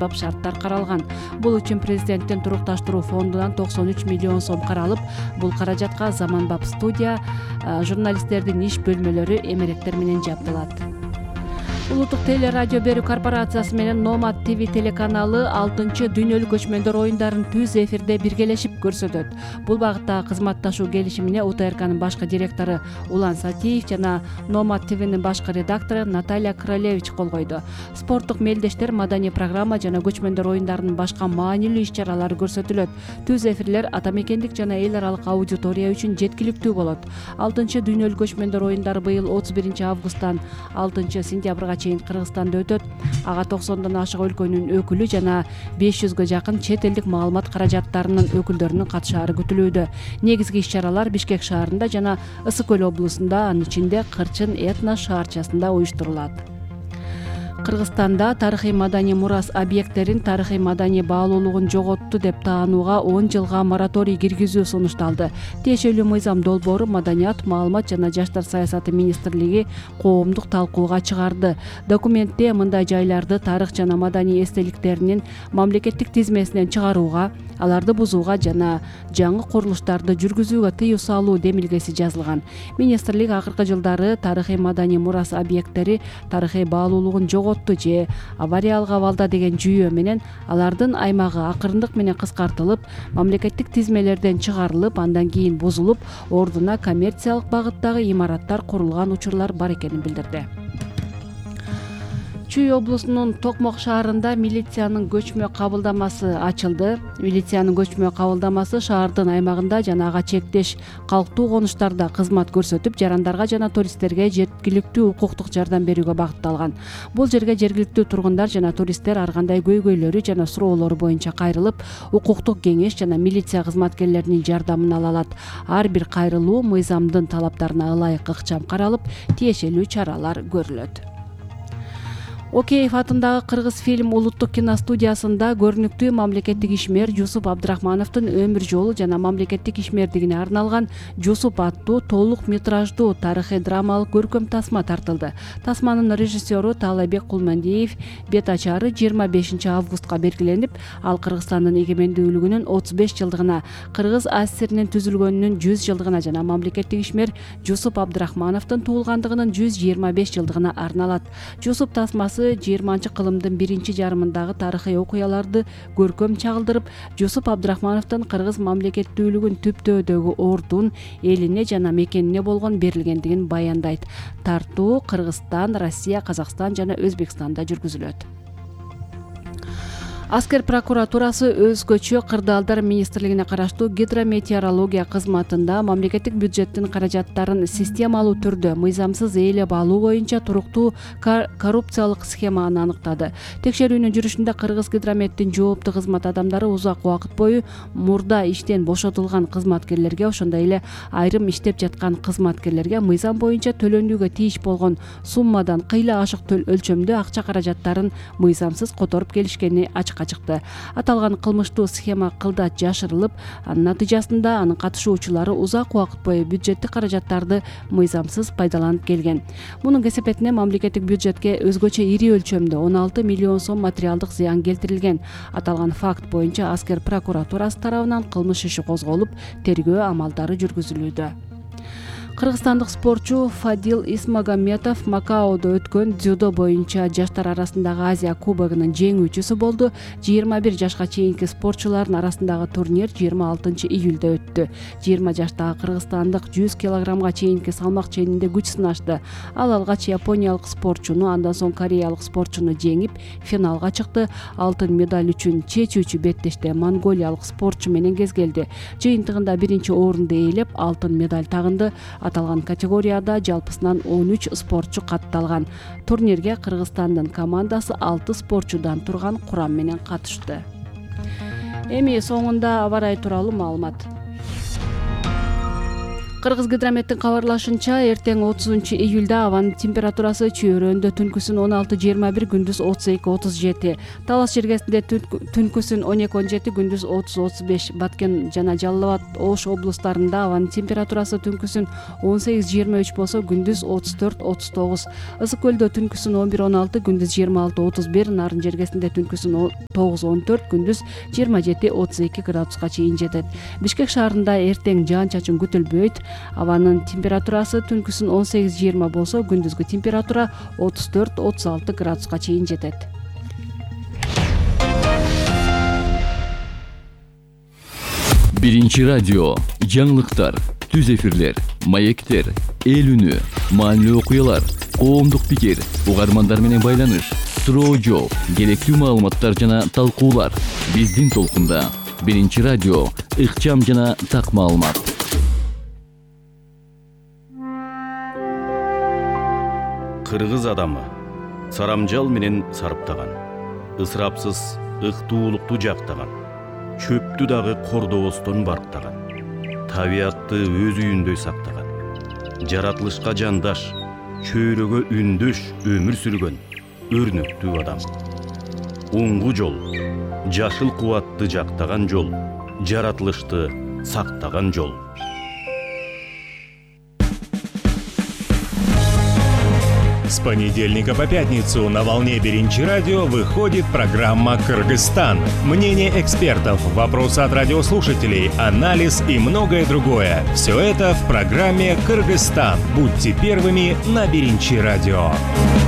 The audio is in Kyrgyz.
заманбап шарттар каралган. Бул үчүн президенттин турукташтыруу фондунан 93 миллион сом каралып, бул каражатка заманбап студия, журналисттердин иш бөлмөлөрү, эмеректер менен жабдылат. Улуттук теле радио берүү корпорациясы менен Nomad TV телеканалы 6-дүйнөлүк көчмөндөр оюндарын түз эфирде биргелешип көрсөтөт. Бул багыттагы кызматташуу келишимине УТРКнын башкы директору Улан Сатиев жана Nomad TVнин башкы редактору Наталья Королевич кол койду. Спорттук мелдештер, маданий программа жана көчмөндөр оюндарынын башка маанилүү иш-чаралары көрсөтүлөт. Түз эфирлер ата мекендик жана эл аралык аудитория үчүн жеткиликтүү болот. 6-дүйнөлүк көчмөндөр оюндары быйыл 31 августтан 6 сентябрга чейин Кыргызстанда өтөт. Ага 90дон ашык өлкөнүн өкүлү жана 500гө жакын чет элдик маалымат каражаттарынын өкүлдөрүнүн катышаары күтүлүүдө. Негизги иш-чаралар Бишкек шаарында жана Ысык көл облусунда, анын ичинде Кырчын этно шаарчасында уюштурулат. Кыргызстанда тарыхый маданий мурас объекттерин тарыхый маданий баалуулугун жоготту деп таанууга 10 жылга мораторий киргизүү сунушталды. Тиешелүү мыйзам долбоору Маданият, маалымат жана жаштар саясаты министрлиги коомдук талкууга чыгарды. Документте мындай жайларды тарых жана маданий эстеликтеринин мамлекеттик тизмесинен чыгарууга, аларды бузууга жана жаңы курулуштарды жүргүзүүгө тыюу салуу демилгеси жазылган. Министрлик акыркы жылдары тарыхый маданий мурас объекттери тарыхый баалуулугун жоготту же авариялык абалда деген жүйө менен алардын аймагы акырындык менен кыскартылып, мамлекеттик тизмелерден чыгарылып, андан кийин бузулуп, ордуна коммерциялык багыттагы имараттар курулган учурлар бар экенин билдирди. Чүй облусунун Токмок шаарында милициянын көчмө кабылдамасы ачылды. Милициянын көчмө кабылдамасы шаардын аймагында жана ага чектеш калктуу конуштарда кызмат көрсөтүп, жарандарга жана туристтерге жеткиликтүү укуктук жардам берүүгө багытталган. Бул жерге жергиликтүү тургундар жана туристтер ар кандай көйгөйлөрү жана суроолору боюнча кайрылып, укуктук кеңеш жана милиция кызматкерлеринин жардамын ала алат. Ар бир кайрылуу мыйзамдын талаптарына ылайык ыкчам каралып, тиешелүү чаралар көрүлөт. Океев атындагы Кыргыз фильм улуттук киностудиясында көрүнүктүү мамлекеттик ишмер Жусуп Абдрахмановдун өмүр жолу жана мамлекеттик ишмердигине арналган Жусуп аттуу толук метраждуу тарыхый драмалык көркөм тасма тартылды. Тасманын режиссеру Таалайбек Кулмандиев бет ачары 25 августка белгиленип, ал Кыргызстандын эгемендүүлүгүнүн 35 жылдыгына, Кыргыз АССРнин түзүлгөнүнүн 100 жылдыгына жана мамлекеттик ишмер Жусуп Абдрахмановдун туулгандыгынын 125 жылдыгына арналат. Жусуп тасмасы 20-кылымдын биринчи жарымындагы тарыхый окуяларды көркөм чагылдырып, Жусуп Абдрахмановдун Кыргыз мамлекеттүүлүгүн түптөөдөгү ордун, элине жана мекенине болгон берилгендигин баяндайт. Тартуу Кыргызстан, Россия, Казакстан жана Өзбекстанда жүргүзүлөт. Аскер прокуратурасы өзгөчө кырдаалдар министрлигине караштуу гидрометеорология кызматында мамлекеттик бюджеттин каражаттарын системалуу түрдө мыйзамсыз ээлеп алуу боюнча туруктуу коррупциялык схеманы аныктады. Текшерүүнүн жүрүшүндө Кыргыз гидрометтин жооптуу кызмат адамдары узак убакыт бою мурда иштен бошотулган кызматкерлерге, ошондой эле айрым иштеп жаткан кызматкерлерге мыйзам боюнча төлөнүүгө тийиш болгон суммадан кыйла ашык өлчөмдө акча каражаттарын мыйзамсыз которуп келишкени ачыкка чыкты. Аталган кылмыштуу схема кылдат жашырылып, анын натыйжасында анын катышуучулары узак убакыт бою бюджеттик каражаттарды мыйзамсыз пайдаланып келген. Мунун кесепетине мамлекеттик бюджетке өзгөчө ири өлчөмдө 16 миллион сом материалдык зыян келтирилген. Аталган факт боюнча Аскер прокуратурасы тарабынан кылмыш иши козголуп, тергөө амалдары жүргүзүлүүдө. Кыргызстандык спортчу Фадил Исмагамметов Макаодо өткөн дзюдо боюнча жаштар арасындагы Азия кубогунун жеңүүчүсү болду. 21 жашка чейинки спортчулардын арасындагы турнир 26 июлда өттү. 20 жаштагы кыргызстандык 100 килограммга чейинки салмак ченинде күч сынашты. Ал алгач япониялык спортчуну, андан соң кореялык спортчуну жеңип, финалга чыкты. Алтын медаль үчүн чечүүчү беттеште монголиялык спортчу менен кезгелди. Жыйынтыгында биринчи орунду ээлеп, алтын медаль тагынды. Аталган категорияда жалпысынан 13 спортчу катталган. Турнирге Кыргызстандын командасы 6 спортчудан турган курам менен катышты. Эми соңунда аба ырайы тууралуу маалымат. Кыргызгидрометтин кабарлашынча, эртең 30-июлда абанын температурасы чөйрөндө түнкүсүн 16-21, күндүз 32-37. Талас жергесинде түнкүсүн 12-17, күндүз 30-35. Баткен жана Жалал Абад Ош облустарында абанын температурасы түнкүсүн 18-23 болсо, күндүз 34-39. Ысык көлдө түнкүсүн 11-16, күндүз 26-31. Нарын жергесинде түнкүсүн 9-14, күндүз 27-32 градуска чейин жетет. Бишкек шаарында эртең жаан-чачын күтүлбөйт. Абанын температурасы түнкүсүн 18-20 болсо, күндүзгү температура 34-36 градуска чейин жетет. Биринчи радио, жаңылыктар, түз эфирлер, маектер, эл үнү, маанилүү окуялар, коомдук пикир, угармандар менен байланыш, суроо жооп, керектүү маалыматтар жана талкуулар. Биздин толкунда Биринчи радио, ыкчам жана так маалымат. Кыргыз адамы сарамжал менен сарыптаган, ысырапсыз ыктуулукту жактаган, чөптү дагы кордобостон барктаган, табиатты өз үйүндөй сактаган, жаратылышка жандаш, чөйрөгө үндөш өмүр сүргөн өрнөктүү адам. Уңгу жол, жашыл кубатты жактаган жол, жаратылышты сактаган жол. С понедельника по пятницу на волне Биринчи радио выходит программа «Кыргызстан». Мнение экспертов, вопросы от радиослушателей, анализ и многое другое. Все это в программе «Кыргызстан». Будьте первыми на Биринчи радио.